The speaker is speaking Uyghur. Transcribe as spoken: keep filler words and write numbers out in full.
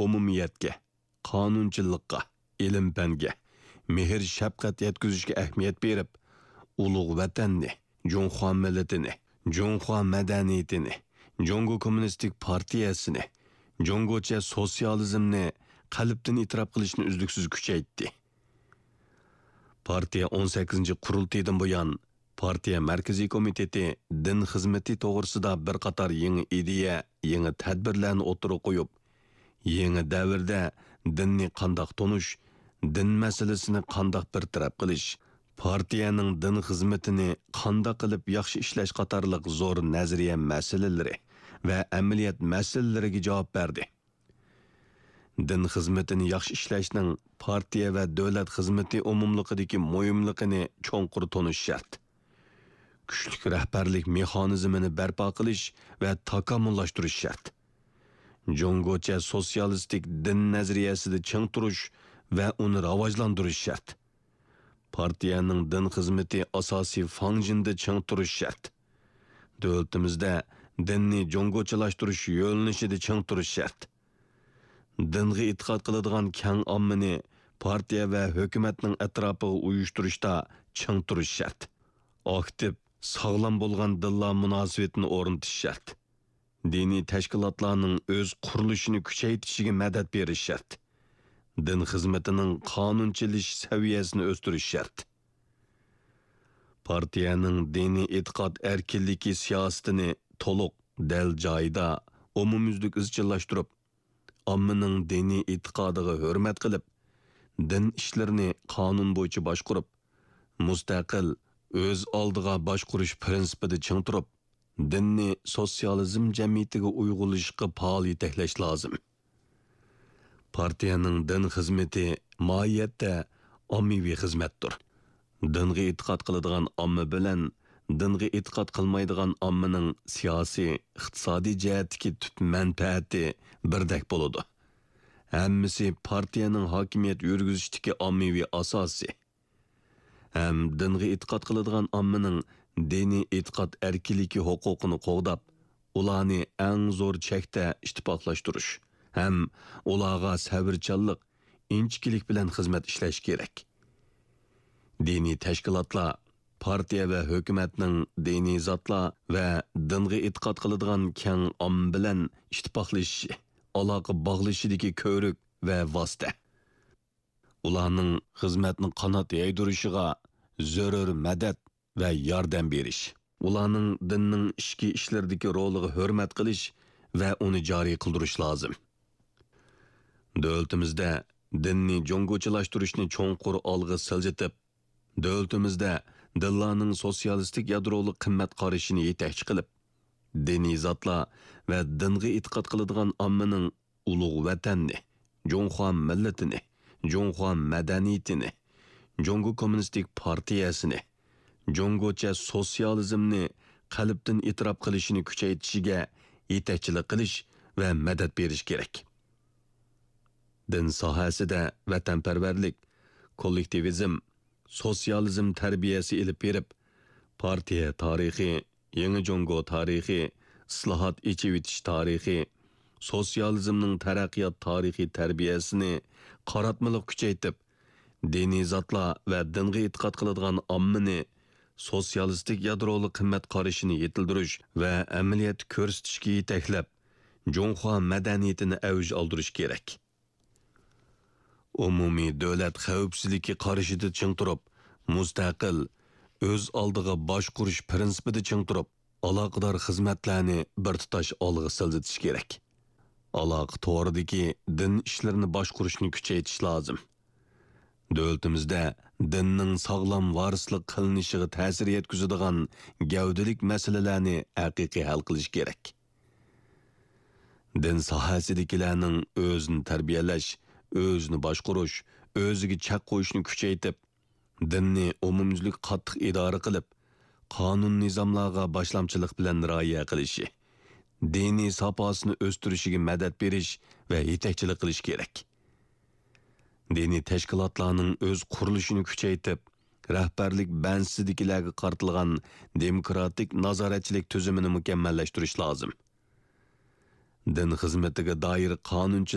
ئومۇمىيەتكە، قانۇنچىلىققا، ئىلىم-پەنگە، مېھىر-شەپقەت يەتكۈزۈشكە ئەھمىيەت بېرىپ، ئۇلۇغ ۋەتەننى، جۇڭخۇا مىللىتىنى، جۇڭخۇا مەدەنىيىتىنى، جۇڭگو كوممۇنىستىك پارتىيەسىنى، جۇڭگوچە سوتسىيالىزمنى قەلبتىن ئېتىراپ قىلىشنى ئۈزلۈكسىز كۈچەيتتى. پارتىيە ئون سەككىزىنچى قۇرۇلتىيىدىن بۇيان، پارتىيە مەركىزىي كومىتېتى دىن خىزمىتى توغرىسىدا بىر قاتار يېڭى ئىدىيە، يېڭى تەدبىرلەرنى ئوتتۇرىغا قويۇپ، يېڭى دەۋردە دىننى قانداق تونۇش، دىن مەسىلىسىنى قانداق بىر تەرەپ قىلىش، پارتىيەنىڭ دىن خىزمىتىنى قانداق قىلىپ ياخشى ئىشلەش قاتارلىق زور نەزەرىيە مەسىلىلىرى ۋە ئەمەلىيەت مەسىلىلىرىگە جاۋاب بەردى. دىن خىزمىتىنى ياخشى ئىشلەشنىڭ پارتىيە ۋە دۆلەت خىزمىتى ئومۇملۇقىدىكى مۇھىملىقىنى چوڭقۇر تونۇش شەرت. كۈچلۈك رەھبەرلىك مېخانىزمىنى بەرپا قىلىش ۋە تاكامۇللاشتۇرۇش شەرت. جۇڭگوچە سوتسىيالىستىك دىن نەزەرىيەسىدە چىڭ تۇرۇش ۋە ئۇنى راۋاجلاندۇرۇش شەرت. پارتىيەنىڭ دىن خىزمىتى ئاساسىي فاڭجېنىدا چىڭ تۇرۇش شەرت. دۆلىتىمىزدە دىننى جۇڭگوچىلاشتۇرۇش يۆنىلىشىدە چىڭ تۇرۇش شەرت. دىنغا ئېتىقاد قىلىدىغان كەڭ ئاممىنى پارتىيە ۋە ھۆكۈمەتنىڭ ئەتراپىغا ئۇيۇشتۇرۇشتا چىڭ تۇرۇش شەرت. ئاكتىپ، ساغلام بولغان دىنلار مۇناسىۋىتىنى ئورنىتىش شەرت. دىنىي تەشكىلاتلارنىڭ ئۆز قۇرۇلۇشىنى كۈچەيتىشىگە مەدەت بېرىش شەرت. دىن خىزمىتىنىڭ قانۇنچىلىشىش سەۋىيەسىنى ئۆستۈرۈش شەرت. پارتىيەنىڭ دىنىي ئېتىقاد ئەركىنلىكى سىياسىتىنى تولۇق، دەل جايىدا، ئومۇميۈزلۈك ئىزچىللاشتۇرۇپ، ئاممىنىڭ دىنىي ئېتىقادىغا ھۆرمەت قىلىپ، دىن ئىشلىرىنى قانۇن بويىچە باشقۇرۇپ، مۇستەقىل، ئۆز ئالدىغا باشقۇرۇش پىرىنسىپىدا چىڭ تۇرۇپ، دىننى سوتسىيالىزم جەمئىيىتىگە ئۇيغۇنلىشىشقا پائال يېتەكلەش لازىم. پارتىيەنىڭ دىن خىزمىتى ماھىيەتتە ئاممىۋى خىزمەتتۇر. دىنغا ئېتىقاد قىلىدىغان ئامما بىلەن دىنغا ئېتىقاد قىلمايدىغان ئاممىنىڭ سىياسىي، ئىقتىسادىي جەھەتتىكى تۈپ مەنپەئەتى بىردەك بولىدۇ. ھەممىسى پارتىيەنىڭ ھاكىمىيەت يۈرگۈزۈشتىكى ئاممىۋى ئاساسى. ھەم دىنغا ئېتىقاد قىلىدىغان ئاممىنىڭ دىنىي ئېتىقاد ئەركىنلىكى ھوقۇقىنى قوغداپ، ئۇلارنى ئەڭ زور چەكتە ئىتتىپاقلاشتۇرۇش ھەم ئۇلارغا سەۋرچانلىق، ئىنچىكىلىك بىلەن خىزمەت ئىشلەش كېرەك. دىنىي تەشكىلاتلار، پارتىيە ۋە ھۆكۈمەتنىڭ دىنىي زاتلار ۋە دىنغا ئېتىقاد قىلىدىغان كەڭ ئامما بىلەن ئىتتىپاقلىشىشى، ئالاقە باغلىشىشىدىكى كۆۋرۈك ۋە ۋاسىتە. ئۇلارنىڭ خىزمەتنى قانات يايدۇرۇشىغا زۆرۈر مەدەت ۋە ياردەم بېرىش، ئۇلارنىڭ دىننىڭ ئىچكى ئىشلىرىدىكى رولىغا ھۆرمەت قىلىش ۋە ئۇنى جارى قىلدۇرۇش لازىم. دۆلىتىمىزدە دىننى جۇڭگوچىلاشتۇرۇشنى چوڭقۇر ئالغا سىلجىتىپ، دۆلىتىمىزدە دىنلارنىڭ سوتسىيالىستىك يادرولۇق قىممەت قارىشىنى يېتەكچى قىلىپ، دىنىي زاتلار ۋە دىنغا ئېتىقاد قىلىدىغان ئاممىنىڭ ئۇلۇغ ۋەتەننى، جۇڭخۇا مىللىتىنى، جۇڭخۇا مەدەنىيىتىنى، جۇڭگو كوممۇنىستىك پارتىيەسىنى، جۇڭگوچە سوتسىيالىزمنى قەلبتىن ئېتىراپ قىلىشىنى كۈچەيتىشىگە يېتەكچىلىك قىلىش ۋە مەدەت بېرىش كېرەك. دىن ساھەسىدە ۋەتەنپەرۋەرلىك، كوللېكتىۋىزم، سوتسىيالىزم تەربىيەسى ئېلىپ بېرىپ، پارتىيە تارىخى، يېڭى جۇڭگو تارىخى، ئىسلاھات، ئېچىۋېتىش تارىخى، سوتسىيالىزمنىڭ تەرەققىيات تارىخىي تەربىيەسىنى قاراتمىلىق كۈچەيتىپ، دىنىي زاتلار ۋە دىنغا ئېتىقاد قىلىدىغان ئاممىنى سوتسىيالىستىك يادرولۇق قىممەت قارىشىنى يېتىلدۈرۈش ۋە ئەمەلىيەتتە كۆرسىتىشكە يېتەكلەپ، جۇڭخۇا مەدەنىيىتىنى ئەۋج ئالدۇرۇش كېرەك. ئومۇمىي دۆلەت خەۋپسىزلىكى قارىشىدا چىڭ تۇرۇپ، مۇستەقىل، ئۆز ئالدىغا باشقۇرۇش پىرىنسىپىدا چىڭ تۇرۇپ، ئالاقىدار خىزمەتلەرنى بىر تۇتاش ئالغا سىلجىتىش كېرەك. ئالاقە تورىدىكى دىن ئىشلىرىنى باشقۇرۇشنى كۈچەيتىش لازىم. دۆلىتىمىزدە دىننىڭ ساغلام ۋارىسلىق قىلىنىشىغا تەسىر يەتكۈزىدىغان گەۋدىلىك مەسىلىلەرنى ھەقىقىي ھەل قىلىش كېرەك. دىن ساھەسىدىكىلەرنىڭ ئۆزىنى تەربىيەلەش، ئۆزىنى باشقۇرۇش، ئۆزىگە چەك قويۇشنى كۈچەيتىپ، دىننى ئومۇميۈزلۈك قاتتىق ئىدارە قىلىپ، قانۇن-نىزاملارغا باشلامچىلىق بىلەن رىئايە قىلىشى، دىنىي ساپاسىنى ئۆستۈرۈشىگە مەدەت بېرىش ۋە يېتەكچىلىك قىلىش كېرەك. دىنىي تەشكىلاتلارنىڭ ئۆز قۇرۇلۇشىنى كۈچەيتىپ، رەھبەرلىك بەنزىسىدىكىلەرگە قارىتىلغان دېموكراتىك نازارەتچىلىك تۈزۈمىنى مۇكەممەللەشتۈرۈش لازىم. دىن خىزمىتىگە دائىر قانۇنچىلىق